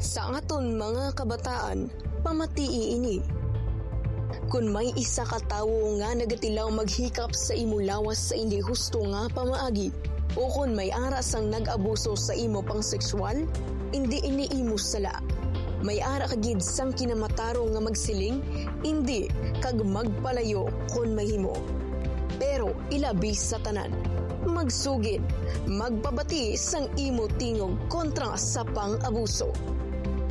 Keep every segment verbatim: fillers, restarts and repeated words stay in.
Sa aton mga kabataan, pamatii ini. Kon may isa ka tawo nga nagatilaw maghikap sa imo lawas sa indi husto nga pamaagi, o kon may ara sang nag-abuso sa imo pang sexual, indi ini imo sala. May ara ka gid sang kinamatarong nga magsiling, "Indi," kag magpalayo kon mahimo. Pero ilabi sa tanan, magsugid, magpabati sang imo tingog kontra sa pang-abuso.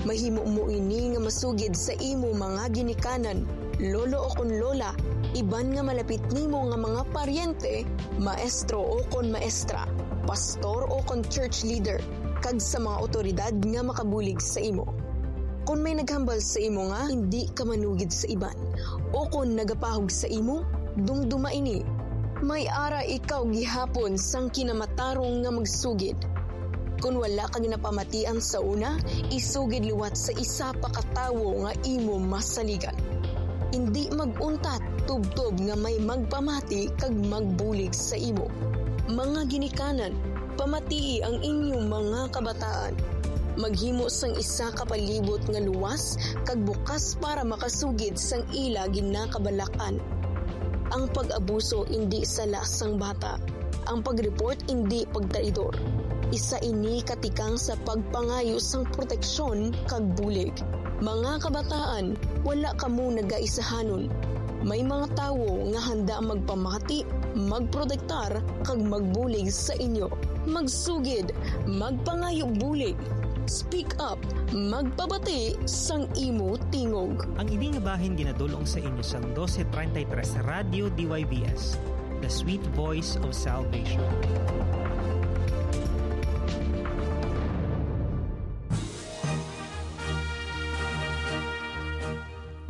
Mahimo mo ini nga masugid sa imo mga ginikanan, lolo o kon lola, iban nga malapit nimo nga mga paryente, maestro o kon maestra, pastor o kon church leader, kag sa mga awtoridad nga makabulig sa imo. Kon may naghambal sa imo nga hindi ka manugid sa iban, o kon nagapahog sa imo, dumduma ini. May ara ikaw gihapon sang kinamatarong nga magsugid. Kon wala ka ginapamatian sa una, isugid liwat sa isa pa ka tawo nga imo masaligan. Indi mag-untat tubtob nga may magpamati kag magbulig sa imo. Mga ginikanan, pamatii ang inyong mga kabataan. Maghimo sang isa ka palibot nga luwas kag bukas para makasugid sang ila ginakabalakan. Ang pag-abuso indi sala sang bata. Ang pag-report indi pagtraidor. Isa ini ka tikang sa pagpangayo sang proteksyon kag bulig. Mga kabataan, wala kamo nagaisahanon. May mga tawo nga handa magpamati, magprotektar, kag magbulig sa inyo. Magsugid, magpangayo bulig. Speak up, magpabati sang imo tingog. Ang ini nga bahin ginadul-ong sa inyo sang dose treinta y tres Radyo D Y V S, the sweet voice of salvation.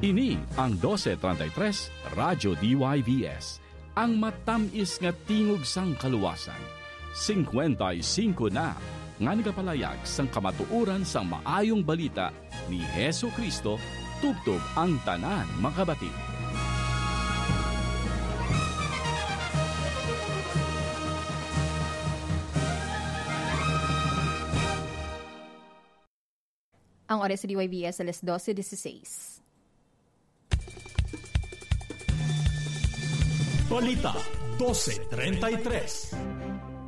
Ini ang dose treinta y tres Radyo D Y V S, ang matamis nga tingog sang kaluwasan. Singkwenta y singko na nga nagapalayag sang kamatuoran sang Maayong Balita ni Jesu-Cristo tubtob ang tanan makabati. Ang oras sa D Y V S, alas dose dieciséis. Balita, dose treinta y tres.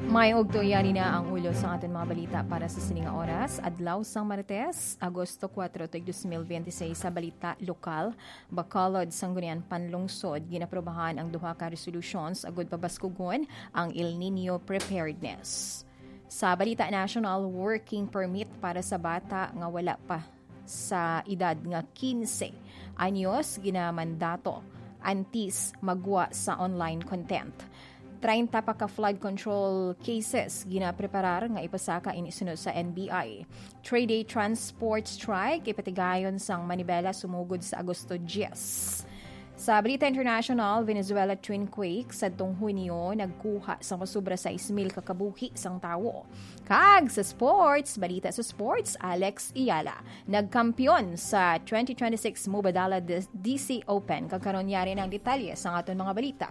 May ugto, yari na ang ulo sa aton mga balita para sa sini nga oras. Adlaw sang Martes, Agosto kuwatro, tuig dos mil biyente seis, sa balita lokal, Bacolod, Sangguniang Panlungsod, ginaprobahan ang duha ka resolutions agud pabaskugon ang El Niño preparedness. Sa balita national, working permit para sa bata nga wala pa sa edad nga quince anyos ginamandato antes magwa sa online content. Treinta pa ka flood control cases ginapreparar nga ipasaka ini sunod sa N B I. Three-day transport strike ipatigayon sang manibela sumugod sa Agosto diyes. Sa balita international, Venezuela twin quake sadtong Hunyo nagkuha sa masobra sais mil ka kabuhi sang tawo. Kag sa sports, balita sa sports, Alex Eala nagkampiyon sa twenty twenty-six Mubadala D-, D C Open. Kag karon, yari na ang detalye sang aton mga balita.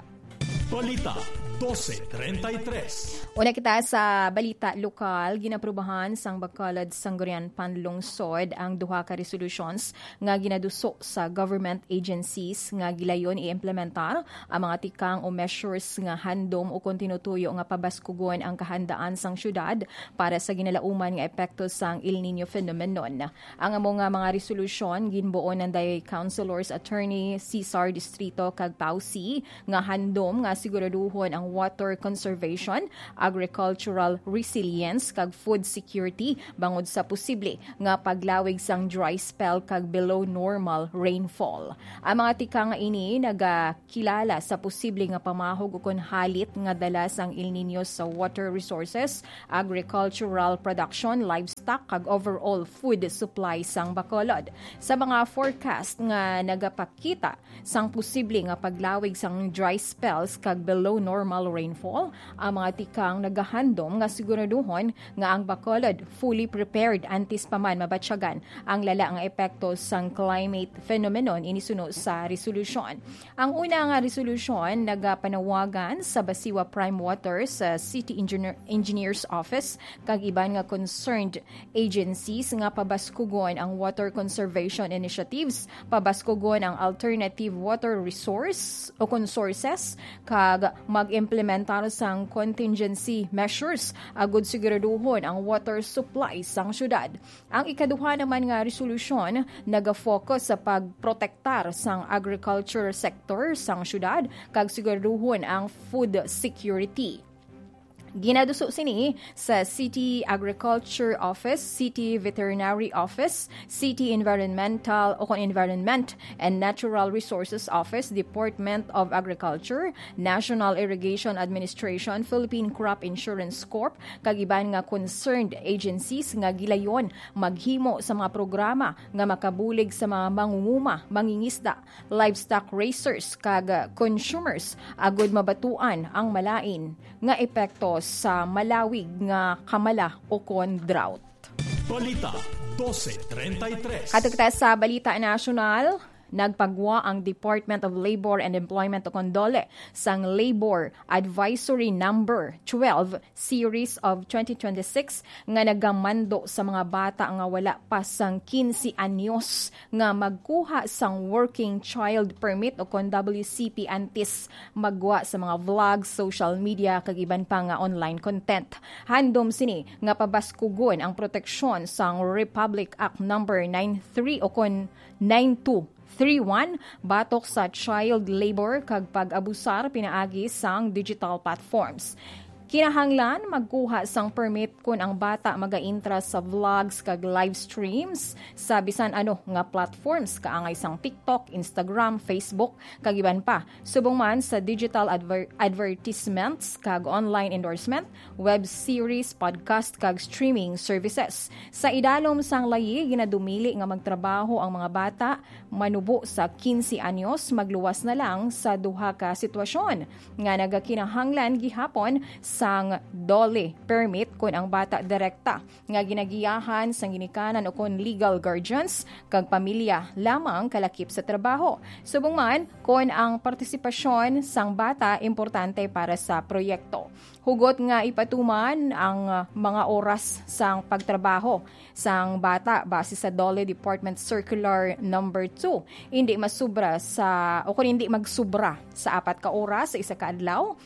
Balita, dose treinta y tres. Una kita sa balita lokal, ginaprubahan sang Bacolod Sangguniang Panlungsod ang duha ka resolutions nga ginaduso sa government agencies nga gilayon i-implementar ang mga tikang o measures nga handom o kon tinutuyo nga pabaskugon ang kahandaan sang syudad para sa ginalauman nga epekto sang El Niño phenomenon. Ang amo nga mga resolusyon ginbuo nanday Councilors Attorney Cesar Distrito kag Pausi nga handom nga siguraduhon ang water conservation, agricultural resilience, kag food security bangod sa posible nga paglawig sang dry spell kag below normal rainfall. Ang mga tikang nga ini nagakilala sa posible nga pamahog ukon halit nga dala sang El Niño sa water resources, agricultural production, livestock, kag overall food supply sang Bacolod. Sa mga forecast nga nagapakita sang posible nga paglawig sang dry spells kag below normal rainfall, ang mga tikang nagahandom nga siguraduhon nga ang Bacolod fully prepared antes pa man mabatyagan ang lala nga epekto sang climate phenomenon ini suno sa resolusyon. Ang una nga resolusyon nagapanawagan sa Basiwa Prime Water sa City Engineer, Engineer's Office kag iban nga concerned agencies nga pabaskugon ang water conservation initiatives, pabaskugon ang alternative water resource o kon sources, kag mag-implementar sang contingency measures agud siguraduhon ang water supply sang syudad. Ang ikaduha naman nga resolusyon nagafocus sa pagprotektar sang agriculture sector sang syudad kag siguraduhon ang food security. Ginaduso sini sa City Agriculture Office, City Veterinary Office, City Environmental o kon Environment and Natural Resources Office, Department of Agriculture, National Irrigation Administration, Philippine Crop Insurance Corp, kag iban nga concerned agencies nga gilayon maghimo sa mga programa nga makabulig sa mga mangunguma, mangingisda, livestock raisers, kag consumers agud mabatuan ang malain nga epekto sa malawig nga kamala o kon drought. Balita dose treinta y tres. Kadto kita sa balita nasyonal, nagpagwa ang Department of Labor and Employment o kon DOLE sang Labor Advisory Number twelve Series of twenty twenty-six nga nagamando sa mga bata nga wala pa sang quince anyos nga magkuha sang Working Child Permit o kon W C P antes maggwa sa mga vlog, social media, kag iban pa nga online content. Handom sini nga pabaskugon ang proteksyon sang Republic Act Number nine three o kon nine two three one batok sa child labor kag pag-abusar pinaagi sang digital platforms. Kinahanglan magkuha sang permit kon ang bata magaintra sa vlogs kag live streams sa bisan ano nga platforms, kaangay sang TikTok, Instagram, Facebook, kag iban pa. Subong man sa digital adver-, advertisements kag online endorsement, web series, podcast, kag streaming services. Sa idalom sang layi, ginadumili nga magtrabaho ang mga bata manubo sa quince anyos, magluwas na lang sa duha ka sitwasyon nga nagakinahanglan gihapon sang DOLE permit kon ang bata direkta nga ginagiyahan sang ginikanan o kon legal guardians kag pamilya lamang kalakip sa trabaho. Subong man, kon ang partisipasyon sang bata importante para sa proyekto. Hugot nga ipatuman ang, ah, mga oras sang pagtrabaho sang bata base sa DOLE Department Circular Number two. Hindi masubra sa, o kung hindi magsubra sa apat ka oras sa isa ka adlaw,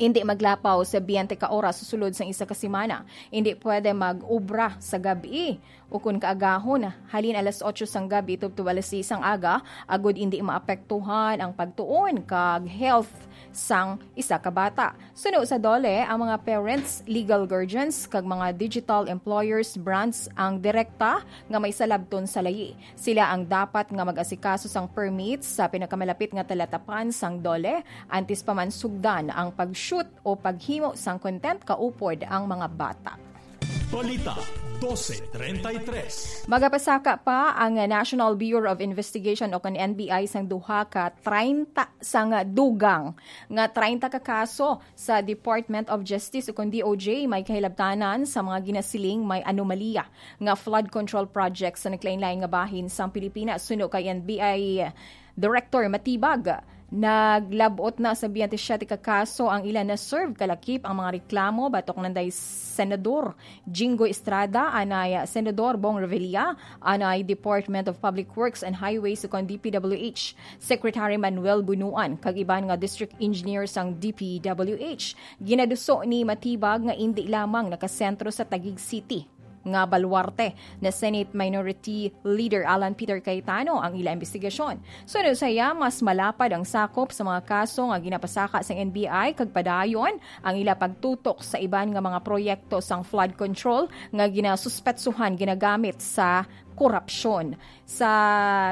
hindi maglapaw sa biyente ka oras sulod sang isa ka semana. Hindi pwede mag-obra sa gabi o kun kaagahon, halin alas otso sang gabi tubtob alas seis sang aga, agud indi maapektuhan ang pagtuon kag health sang isa ka bata. Suno sa DOLE, ang mga parents, legal guardians, kag mga digital employers brands ang direkta nga may salabton sa layi. Sila ang dapat nga mag-asikaso sang permits sa pinakamalapit nga talatapan sang DOLE antes pa man sugdan ang pag-shoot o paghimo sang content kaupod ang mga bata. Balita dose treinta y tres. Magapasaka pa ang National Bureau of Investigation o kon N B I sang duha ka treinta sang dugang nga treinta ka kaso sa Department of Justice o kon D O J may kahilabtanan sa mga ginasiling may anomalya nga flood control projects sa naglain-lain nga bahin sang Pilipinas. Suno kay N B I Director Matibag, naglab-ot na sa biyente siyete ka kaso ang ila na-serve, kalakip ang mga reklamo batok nanday Senador Jinggoy Estrada, anay Senador Bong Revilla, anay Department of Public Works and Highways ukon D P W H Secretary Manuel Bunuan, kag iban nga district engineer sang D P W H. Ginaduso ni Matibag nga indi lamang nakasentro sa Taguig City nga baluarte na Senate Minority Leader Alan Peter Cayetano ang ila imbestigasyon. Suno sa iya, mas malapad ang sakop sa mga kaso nga ginapasaka sang N B I kag padayon ang ila pagtutok sa iban nga mga proyekto sang flood control nga ginasuspetsuhan ginagamit sa korupsyon. Sa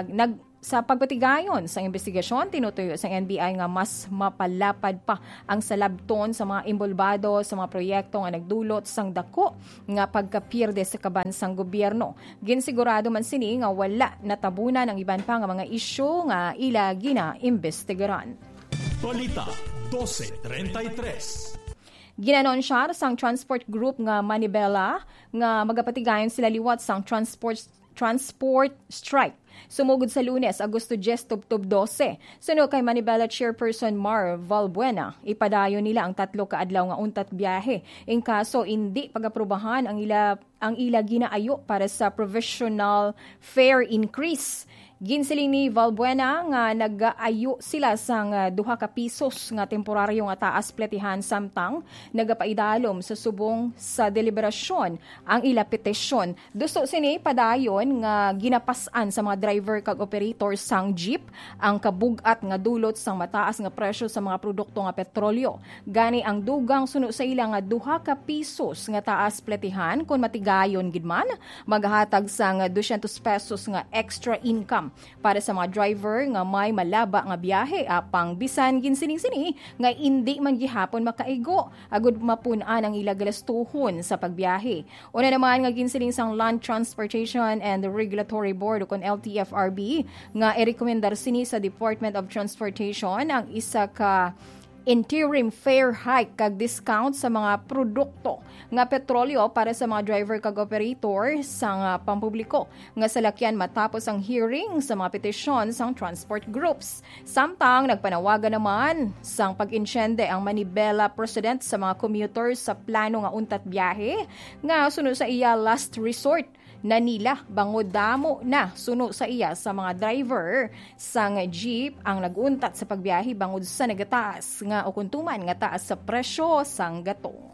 nag-, sa pagpatigayon sang imbestigasyon, tinutuyo sang N B I nga mas mapalapad pa ang salabton sa mga inbolbado sa mga proyekto nga nagdulot sang dako nga pagkapierde sa kaban sang gobyerno. Ginsigurado man sini nga wala natabunan ang iban pa nga mga isyu nga ila ginaimbestigaran. Balita dose treinta y tres. Ginanonsyar sang transport group nga Manibela nga magapatigayon sila liwat sang transport, transport strike sumugod sa Lunes, Agosto diyes, tubtob dose. Suno kay Manibela Chairperson Mar Valbuena, ipadayon nila ang tatlo ka adlaw nga untat biyahe. In kaso indi pag-aprubahan ang ila, ang ila ginaayo para sa provisional fare increase. Ginsiling ni Valbuena nga nagaayo sila sang, ah, duha ka pisos nga temporaryo nga taas pletihan, samtang nagapaidalom sa subong sa deliberasyon ang ila petisyon. Duso sini padayon nga ginapas-an sa mga driver kag operator sang jeep ang kabug-at nga dulot sang mataas nga presyo sa mga produkto nga petrolyo. Gani ang dugang suno sa ila nga duha ka pisos nga taas pletihan, kon matigayon gid man, maghatag sang dusyentos pesos nga extra income para sa mga driver nga may malaba nga biyahe, apang bisan ginsiling sini nga indi man gihapon makaigo agud mapun-an ang ila galastuhon sa pagbiyahe. Una naman nga ginsiling sang Land Transportation and Regulatory Board, o kon L T F R B, nga irekomendar sini sa Department of Transportation ang isa ka interim fare hike kag discount sa mga produkto nga petrolyo para sa mga driver kag operator sang, ah, pampubliko nga salakyan matapos ang hearing sa mga petisyon sang transport groups. Samtang nagpanawagan naman sang pag-insyende ang Manibela President sa mga commuters sa plano nga untat biyahe nga suno sa iya last resort na nila, bangod damo na suno sa iya sa mga driver sang jeep ang nag-untat sa pagbiyahe bangod sa nagataas nga o kuntuman nga taas sa presyo sang gatong.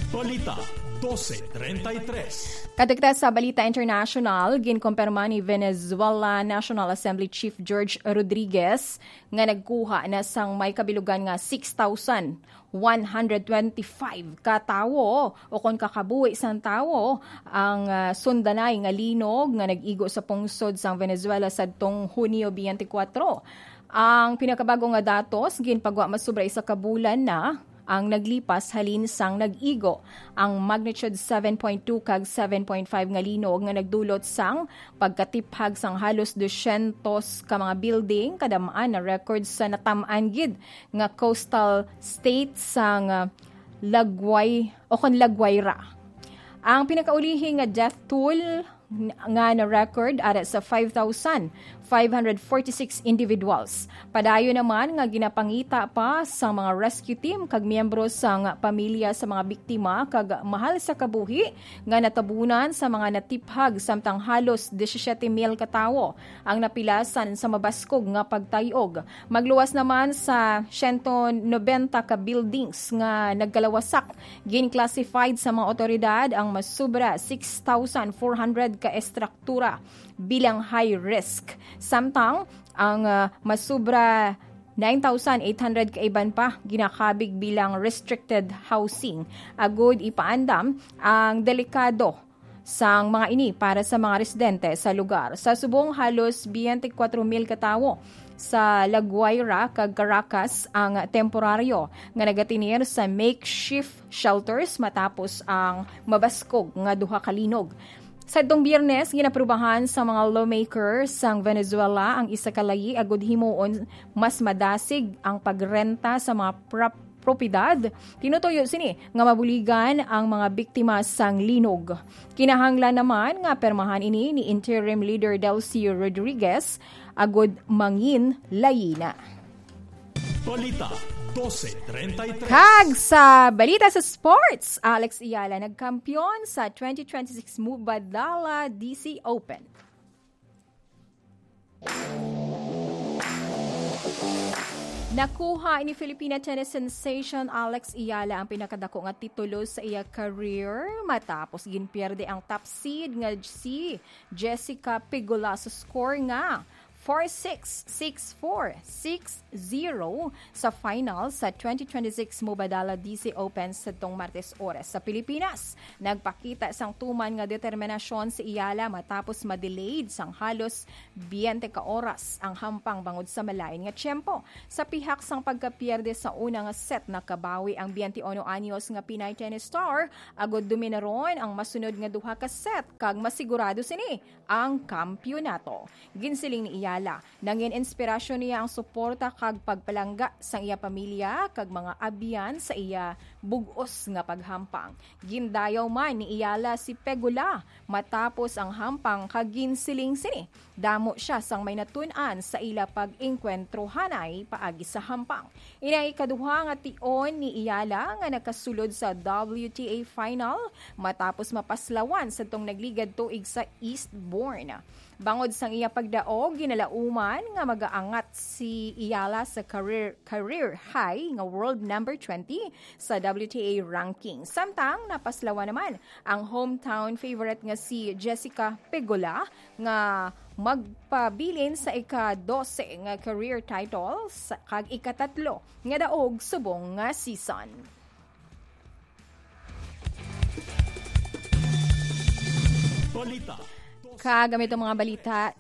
Balita dose treinta y tres. Kadto kita sa balita international, ginkumpirma ni Venezuela National Assembly Chief George Rodriguez nga nagkuha na sang may kabilugan nga six thousand one hundred twenty-five ka tawo o kon kakabuhi sang tawo ang, ah, sundanay nga linog nga nag-igo sa pungsod sang Venezuela sadtong Hunyo twenty-four. Ang pinakabag-o nga datos ginpagwa masobra isa ka bulan na ang naglipas halin sang nag-igo ang magnitude seven point two kag seven point five nga linog nga nagdulot sang pagkatiphag sang halos dusyentos ka mga building, kadam-an na record sa natam-an gid nga coastal state sang, ah, Lagway o kon Lagwaira. Ang pinakaulihi nga death toll nga na-record ara sa five thousand five hundred forty-six individuals. Padayon naman nga ginapangita pa sa mga rescue team kag miyembro sang pamilya sa mga biktima kag mahal sa kabuhi nga natabunan sa mga natiphag, samtang halos disisiete mil ka tawo ang napilasan sa mabaskog nga pagtay-og. Magluwas naman sa siyento nobenta ka buildings nga nagkalawasak. Gin-classified sa mga awtoridad ang masobra six thousand four hundred ka estruktura bilang high risk, samtang ang, ah, masobra nine thousand eight hundred ka iban pa ginakabig bilang restricted housing, agud ipaandam ang delikado sang mga ini para sa mga residente sa lugar. Sa subong, halos twenty-four mil ka tawo sa La Guaira kag Caracas ang temporaryo nga nagatinir sa makeshift shelters matapos ang mabaskog nga duha ka linog. Sadtong Biyernes, ginaprubahan sa mga lawmaker sang Venezuela ang isa ka layi agud himuon mas madasig ang pagrenta sa mga prop-, propiedad. Tinutuyo sini nga mabuligan ang mga biktima sang linog. Kinahanglan naman nga pirmahan ini ni Interim Leader Delcy Rodriguez agud mangin layi na. Balita dose treinta y tres. Kag sa balita sa sports, Alex Ayala nagkampiyon sa twenty twenty-six Mubadala D C Open. Nakuha ni Filipina tennis sensation Alex Ayala ang pinakadako nga titulo sa iya career matapos ginpierde ang top seed nga si Jessica Pegula sa score nga four six, six four, six zero sa final sa twenty twenty-six Mubadala D C Open sadtong Martes oras sa Pilipinas. Nagpakita sang tuman nga determinasyon si Ayala matapos ma-delayed sang halos twenty ka oras ang hampang bangod sa malain nga tiyempo. Sa pihak sang pagkapierde sa una nga set, nakabawi ang twenty-one anyos nga Pinay tennis star, agud dominaron ang masunod nga duha ka set kag masigurado sini ang kampiyonato. Ginsiling ni Ayala Ala, nangin inspirasyon niya ang suporta kag pagpalangga sang iya pamilya kag mga abyan sa iya bug-os nga paghampang. Gindayaw man ni Iyala si Pegula matapos ang hampang kag ginsiling sini damo sia sang may natun-an sa ila pag-engkwentro hanay paagi sa hampang. Ini ang ikaduha nga tion ni Iyala nga nakasulod sa W T A final matapos mapaslawan sa tong nagligad tuig sa Eastbourne. Bangod sang iya pagdaog, ginalauman nga magaangat si Iyala sa career, career high nga world number twenty sa W T A ranking. Samtang napaslawan naman ang hometown favorite nga si Jessica Pegula nga magpabilin sa ika-dose nga career title sa, kag ikatatlo nga daog subong nga season. Balita. Kag ang mga balita,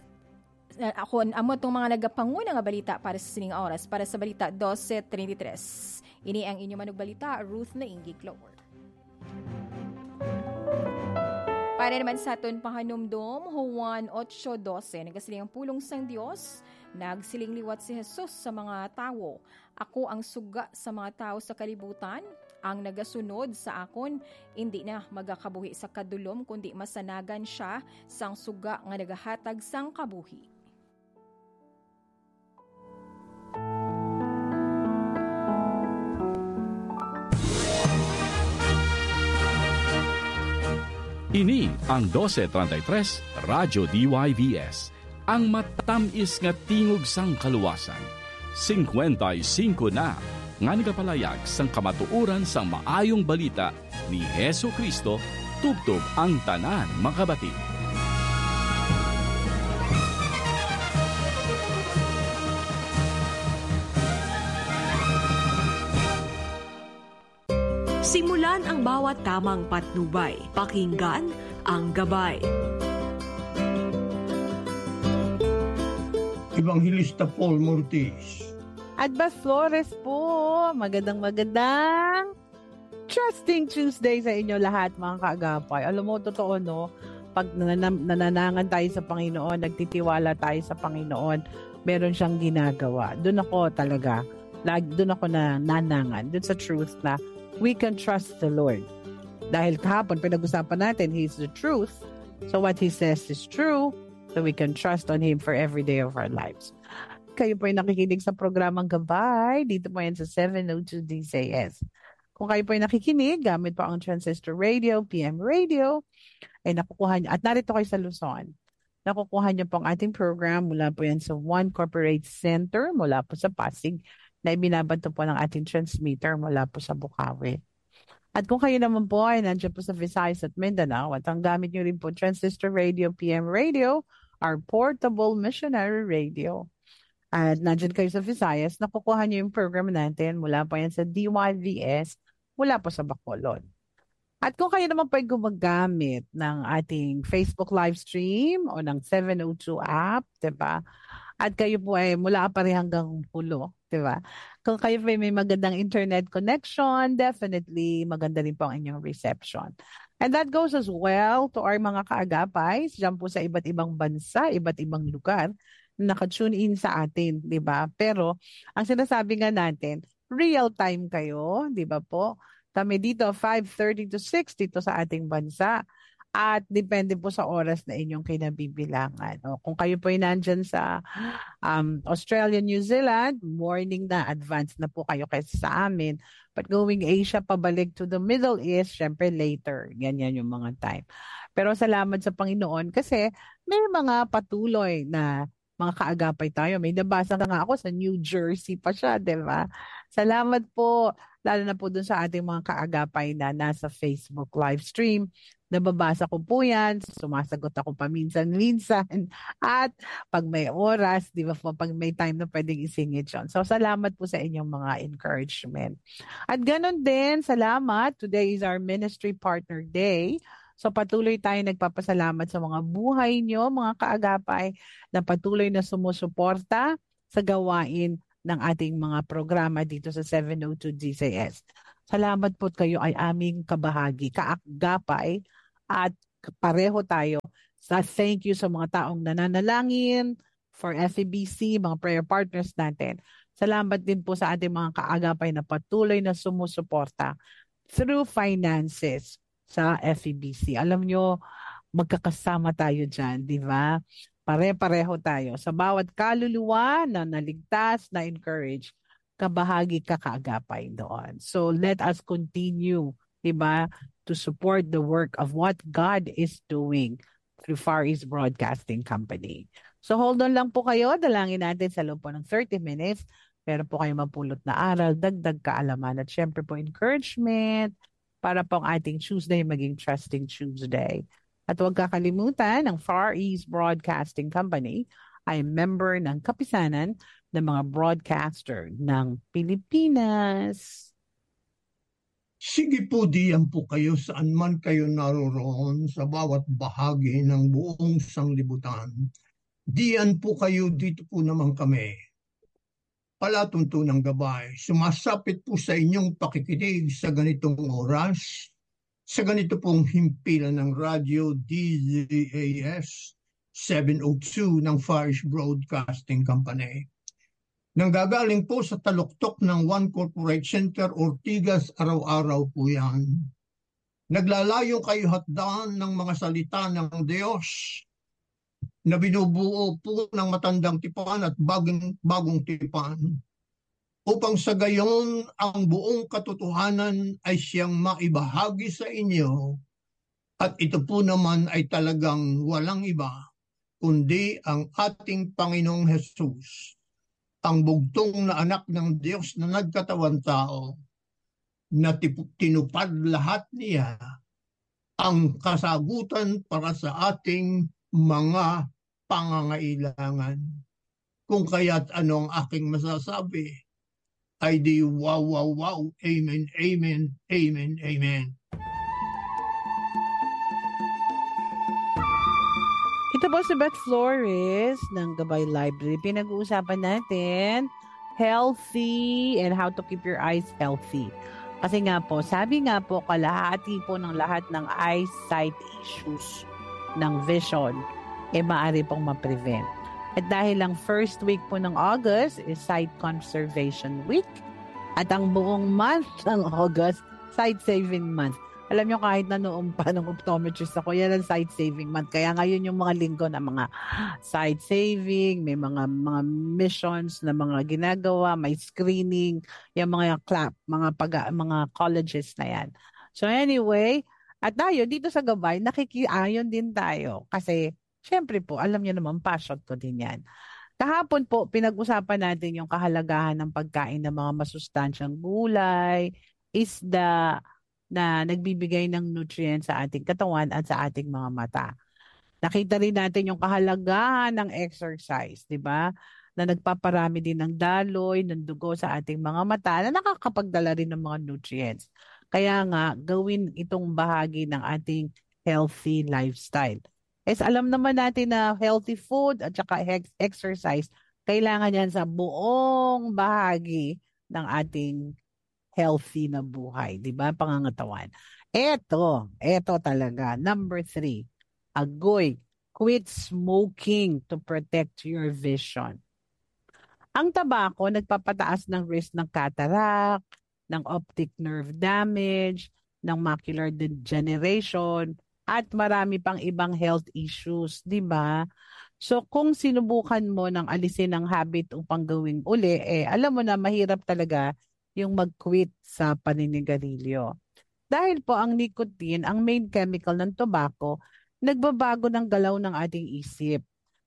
uh, ako, amo tong mga nagapanguna nga balita para sa sining oras, para sa balita dose treinta y tres. Ini ang inyo manugbalita, Ruth Naingi Clover. Para naman sa aton pahanumdom, Juan ocho doce, nagasiling ang pulong sang Dios, nagsiling liwat si Jesus sa mga tawo, "Ako ang suga sa mga tawo sa kalibutan, ang nagasunod sa akon, indi na magakabuhi sa kadulom, kundi masanagan sia sang suga nga nagahatag sang kabuhi." Ini ang dose treinta y tres Radyo D Y V S, ang matamis nga tingog sang kaluwasan. Singkwenta y singko na nga nagapalayag sang kamatuoran sang maayong balita ni Jesu-Cristo tubtob ang tanan makabati. Simulan ang bawat tamang patnubay. Pakinggan ang gabay. Evangelista Paul Mortis. Adba Flores po. Magandang, magandang Trusting Tuesday sa inyo lahat, mga kaagapay. Alam mo, totoo, no? Pag nananam-, nananangan tayo sa Panginoon, nagtitiwala tayo sa Panginoon, meron siyang ginagawa. Doon ako talaga, lag-, doon ako na nanangan, doon sa truth na we can trust the Lord. Dahil kahapon, pinag-usapan natin, He is the truth. So what He says is true. So we can trust on Him for every day of our lives. Kayo po ay nakikinig sa programang Gabay. Dito po yan sa seven oh two D C S. Kung kayo po ay nakikinig gamit po ang transistor radio, P M radio, ay nakukuha niyo, at narito kayo sa Luzon, nakukuha niyo po ang ating program mula po yan sa One Corporate Center, mula po sa Pasig, na ibinabato po ng ating transmitter mula po sa Bukawi. At kung kayo naman po ay nandiyan po sa Visayas at Mindanao, at ang gamit niyo rin po, transistor radio, P M radio, our portable missionary radio. At nandiyan kayo sa Visayas, nakukuha niyo yung program natin mula po yan sa D Y V S, mula po sa Bacolod. At kung kayo naman po ay gumagamit ng ating Facebook live stream o ng seven oh two app, di ba? At kayo po ay mula pa rin hanggang hulo, di ba? Kung kayo po ay may magandang internet connection, definitely maganda rin po ang inyong reception. And that goes as well to our mga kaagapay dyan po sa iba't ibang bansa, iba't ibang lugar na naka-tune in sa atin, di ba? Pero ang sinasabi nga natin, real time kayo, di ba po? Kami dito, five thirty to six dito sa ating bansa. At depende po sa oras na inyong kinabibilangan. O, kung kayo po ay nandyan sa, um, Australia, New Zealand, morning na, advance na po kayo kaysa sa amin. But going Asia, pabalik to the Middle East, syempre later. Ganyan yung mga time. Pero salamat sa Panginoon kasi may mga patuloy na mga kaagapay tayo. May nabasa nga ako sa New Jersey pa siya, di ba? Salamat po, lalo na po dun sa ating mga kaagapay na nasa Facebook live stream. Nababasa ko po yan, sumasagot ako paminsan-minsan. At pag may oras, di ba po, pag may time na pwedeng isingit yun. So, salamat po sa inyong mga encouragement. At ganun din, salamat. Today is our Ministry Partner Day. So, patuloy tayo nagpapasalamat sa mga buhay nyo, mga kaagapay, na patuloy na sumusuporta sa gawain ng ating mga programa dito sa seven oh two D C S. Salamat po, kayo ay aming kabahagi, kaagapay, at pareho tayo sa thank you sa mga taong nananalangin, for F E B C, mga prayer partners natin. Salamat din po sa ating mga kaagapay na patuloy na sumusuporta through finances sa F E B C. Alam nyo, magkakasama tayo dyan, di ba? Pare-pareho tayo. Sa bawat kaluluwa na naligtas, na-encourage, kabahagi ka kaagapay doon. So let us continue, di ba, to support the work of what God is doing through Far East Broadcasting Company. So hold on lang po kayo. Dalangin natin sa loob po ng thirty minutes. Meron po kayong mapulot na aral, dagdag kaalaman, at syempre po encouragement para po ang ating Tuesday maging Trusting Tuesday. At huwag kakalimutan, ang Far East Broadcasting Company ay member ng Kapisanan ng mga Broadcaster ng Pilipinas. Sige po, diyan po kayo saan man kayo naroroon sa bawat bahagi ng buong sanglibutan. Diyan po kayo, dito po naman kami. Palatuntunang gabay, sumasapit po sa inyong pakikinig sa ganitong oras, sa ganito pong himpilan ng radyo D Z A S seven oh two ng Far East Broadcasting Company. Nanggagaling po sa taluktok ng One Corporate Center, Ortigas, araw-araw po yan. Naglalayo kayo hatdan ng mga salita ng Diyos na binubuo po ng matandang tipan at bagong, bagong tipan, upang sa gayon ang buong katotohanan ay siyang maibahagi sa inyo, at ito po naman ay talagang walang iba kundi ang ating Panginoong Jesus, ang bugtong na anak ng Diyos na nagkatawan tao, na tipu- tinupad lahat niya ang kasagutan para sa ating mga pangangailangan. Kung kaya't ano ang aking masasabi, ay di wow, wow, wow, amen, amen, amen, amen. Ito po si Beth Flores ng Gabay Library. Pinag-uusapan natin healthy and how to keep your eyes healthy. Kasi nga po, sabi nga po, kalahati po ng lahat ng eyesight issues, ng vision, eh maaari pong ma-prevent. At dahil ang first week po ng August is Sight Conservation Week, at ang buong month ng August, Sight Saving Month. Alam nyo, kahit na noon pa nung optometrist ako, yan ang sight saving month. Kaya ngayon yung mga linggo na mga sight saving, may mga mga missions na mga ginagawa, may screening, yung mga club, mga pag mga colleges na yan. So anyway, at tayo dito sa Gabay, nakikiayon din tayo kasi syempre po, alam niyo naman, passion ko din yan. Kahapon po, pinag-usapan natin yung kahalagahan ng pagkain ng mga masustansyang gulay, isda, na nagbibigay ng nutrients sa ating katawan at sa ating mga mata. Nakita rin natin yung kahalagahan ng exercise, di ba? Na nagpaparami din ng daloy, ng dugo sa ating mga mata na nakakapagdala rin ng mga nutrients. Kaya nga, gawin itong bahagi ng ating healthy lifestyle. Yes, alam naman natin na healthy food at saka hex- exercise, kailangan yan sa buong bahagi ng ating healthy na buhay, di ba? Pangangatawan. Eto, eto talaga. Number three, agoy, quit smoking to protect your vision. Ang tabako nagpapataas ng risk ng cataract, ng optic nerve damage, ng macular degeneration, at marami pang ibang health issues, di ba? So kung sinubukan mo ng alisin ang habit upang gawing uli, eh alam mo na mahirap talaga yung mag-quit sa paninigarilyo. Dahil po ang nicotine, ang main chemical ng tobacco, nagbabago ng galaw ng ating isip.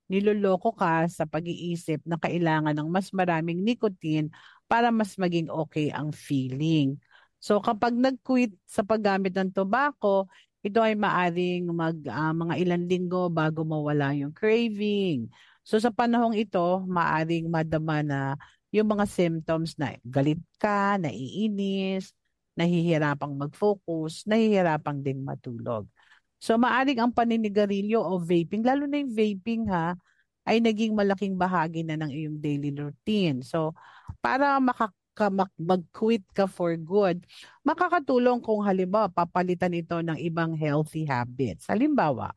Niloloko ka sa pag-iisip na kailangan ng mas maraming nicotine para mas maging okay ang feeling. So kapag nag-quit sa paggamit ng tobacco, ito ay maaring mag ah, mga ilang linggo bago mawala yung craving. So sa panahong ito, maaring madama na yung mga symptoms na galit ka, naiinis, nahihirapang mag-focus, nahihirapang ding matulog. So maaring ang paninigarilyo o vaping, lalo na yung vaping ha, ay naging malaking bahagi na ng iyong daily routine. So para makaka- mak- mag-quit ka for good, makakatulong kung halimbawa papalitan ito ng ibang healthy habits. Halimbawa,